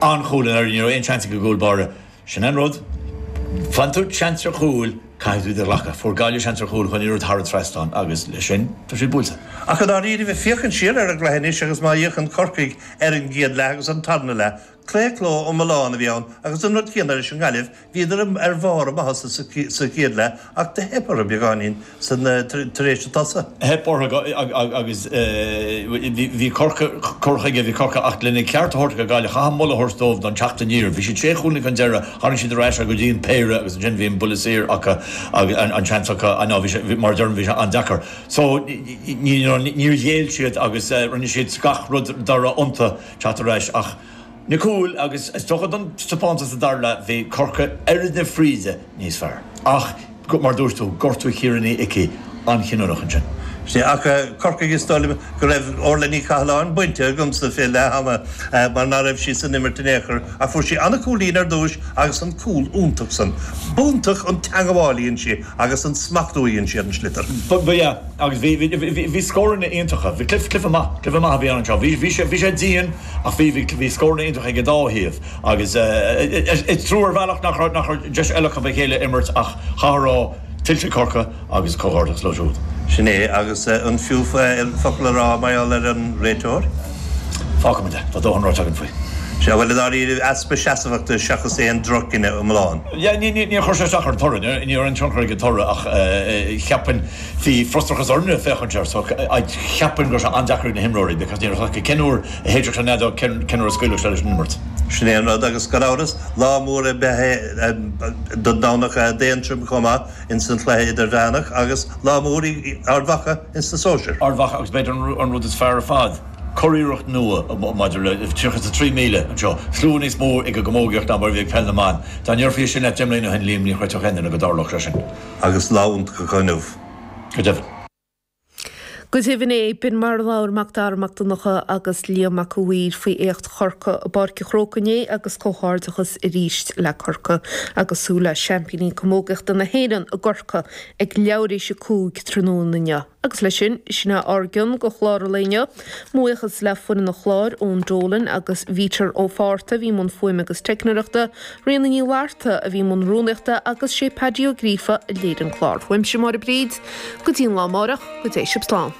An-chúl i ndáiríre, ní raibh aon seans ag an gcúl báire. Sin an rud. Faigheann tú seans ar chúl, caithfidh tú iad a ghlacadh. Fuair Gaillimh seans ar chúl, chuir an liathróid thar an trasnán agus leis sin, tá siad buailte. Ach i ndáiríre, ag féachaint siar ar an gcluiche anois agus má fhéachann Corcaigh ar an gcéad leath agus an tarna leath, claochló iomlán a bhí ann agus an rud céanna leis an nGaillimh, Bhíodar ar bharr a maitheasa sa chéad leath ach do theip orthu beagáinín tar éis an tsosa. Theip orthu agus bhí Corcaigh, cur chuige, bhí Corcaigh ach lena gceart a thabhairt do Ghaillimh, chaithfeá moladh a thabhairt dóibh don teacht aniar. Bhí siad sé chúilín chun deiridh, tharraing siad ar ais go dtí an péire agus ansin bhí an buille saor acu agus an seans acu, ná bhí sé, mar a deirim, bhí sé an-deacair. So níor ghéill siad agus rinne siad gach rud dá raibh iontu teacht ar ais ach, Na cúil agus is dócha don taispeántas sa dara leath bhí Corcaigh oiread na fríde níos fearr. Ach mar a dúirt tú, gortú Chiara Ní Icí an-chinniúnach ansin. Sea, ach Corcaigh is dóigh liom go raibh Orla Ní Chathalláin bainte agamsa fé leath ama mar ná raibh sí san imirt in aon chor ach fuair sí an-chúilín ar dtúis agus an cúl iontach san. B'iontach an teangabháil a dhein sí agus an smachtú a dhein sí ar an sliotar. Ba ea, agus bhí, bhí, bhí scóranna iontacha, bhí cluiche, cluiche maith, cluiche maith a bhí ann anseo. Bhí, bhí sé, bhí sé dian ach bhí, bhí, bhí scóranna iontacha ag an dá thaobh agus is trua ar bhealach nach raibh, nach raibh deis eile acu a chéile a imirt ach chaithfeá a rá, tuillte Corcaigh agus comhghairdeachas leo siúd. Sin é, agus an fiú focal a rá mar gheall ar an réiteoir? Fágfaimid é, tá dóthain ráite againn faoi. Sea, bhuel, i ndáiríre, easpa seasmhachta seachas aon droch-chinneadh iomlán. Yeah, ní, ní, níor chuir sé isteach ar an toradh, ní raibh aon tionchar ag an toradh ach cheapfainn, bhí frustrachas orainne féachaint air so cheapfainn go raibh sé an-deacair ag na himreoirí because ní raibh a fhios acu cén uair a shéidfeadh sé an fheadóg, cén, cén uair a scaoilfeadh sé leis an imirt. Sin é an rud agus gan amhras, lá mór ab ea é don Domhnach d'Aontroim chomh maith ins an chluiche idirmheánach agus lá mór í Ard Mhacha ins na sóisir. Ard Mhacha agus b'fhéidir an rud is fearr ar fad, curiarracht nua maidir le 33,000 anseo, slua níos mó ag an gcamógaíocht ná mar a bhí ag peil na mban. Dá ndéarfaí sin leat deich mbliana ó shin, Liam, ní chreidfeadh aon duine go dtarlódh sé sin. Agus lá iontach acu inniu. Go deimhin. Go deimhin é, b'in mar a labhair Mac Dara Mac Donncha agus Liam Mac a' Mhaoir faoi éacht Chorcaí i bPáirc an Chrócaigh inné agus comhghairdeachas arís le Corcaigh agus súil le seaimpíní camógaíochta na hÉireann i gCorcaigh ag leathuair éis a 5 tráthnóna inniu. Agus leis sin, sin é ár gcion de chlár an lae inniu. Mo bhuíochas le foireann an chláir, Eoin Dolan agus Bhítear Ó Fátharta a bhí i mbun fuaime agus teicneoireachta, Ríona Ní Fhlatharta a bhí i mbun rúnaíochta agus sé Paddy Ó Gríofa a léirigh an clár. Uaimse Máire Bríd, go dtí an lá amárach, go dté sibh slán.